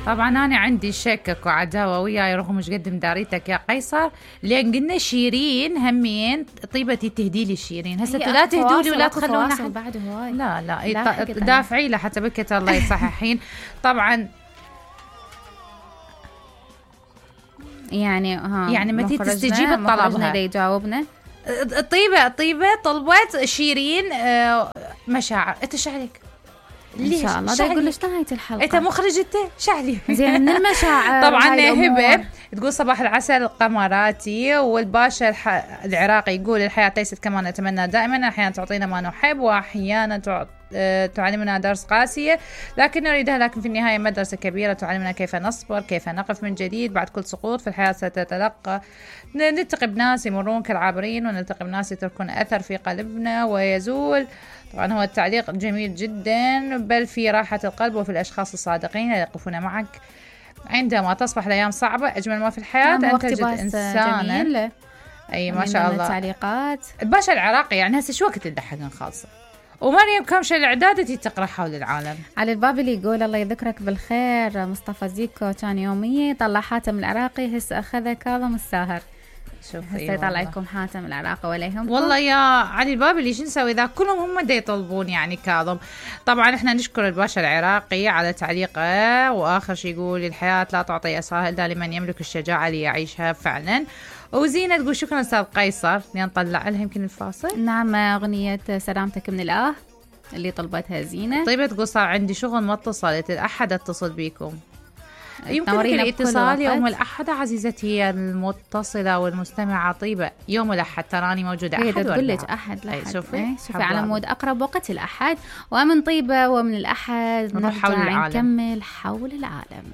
طبعا أنا عندي شكك وعداوة وياي رغم مش قد مداريتك يا قيصر، لأن قلنا شيرين همين طيبتي تهدي لي شيرين، هسه لا تهدوا لي ولا تخلونا بعد هواي. لا دافعي له حتى بكت الله يصححين. طبعا يعني متى تستجيب طلبها يجاوبنا. طيبة طلبت شيرين مشاعر. انت شعلك ان شاء الله ده يقول لك نهاية الحلقة. انت مخرج انت شعلي زين من المشاعر. طبعا هبه تقول صباح العسل قمراتي، والباشا العراقي يقول الحياة ليست كما نتمنى دائما، احيانا تعطينا ما نحب واحيانا تعلمنا درس قاسية لكن نريدها، لكن في النهاية مدرسة كبيرة تعلمنا كيف نصبر، كيف نقف من جديد بعد كل سقوط في الحياة. نلتقي بناس يمرون كالعابرين ونلتقي بناس يتركون أثر في قلبنا ويزول. طبعا هو التعليق جميل جدا، بل في راحة القلب وفي الأشخاص الصادقين اللي يقفون معك عندما تصبح الأيام صعبة. أجمل ما في الحياة أن تجد إنسانا. أي ما شاء الله. التعليقات الباشا العراقي يعني هسه شو وقت تضحكن خالصة. ومريم كامشة الإعداد تقرأ حول العالم. علي البابلي يقول الله يذكرك بالخير. مصطفى زيكو كان يومية طلع حاتم العراقي هسه أخذ كاظم الساهر. هسه يطلع لكم حاتم العراقي ولا يهمكم. والله يا علي البابلي شو نسوي إذا كلهم هم دا يطلبون يعني كاظم. طبعا احنا نشكر الباشا العراقي على تعليقه، وآخر شيء يقول الحياة لا تعطي أسرها إلا لمن يملك الشجاعة ليعيشها فعلا. وزينة تقول شكرا أستاذ قيصر، نطلع لها يمكن الفاصل. نعم أغنية سلامتك من الآه اللي طلبتها زينة. طيبة تقول صار عندي شغل ما اتصلت، الأحد اتصل بيكم. يمكن الاتصال يوم الأحد عزيزتي هي المتصلة والمستمعة. طيبة يوم الأحد تراني موجودة أحد تقول لك أحد لحد. شوفي على مود أقرب وقت الأحد. ومن طيبة ومن الأحد نروح حول العالم. نكمل حول العالم.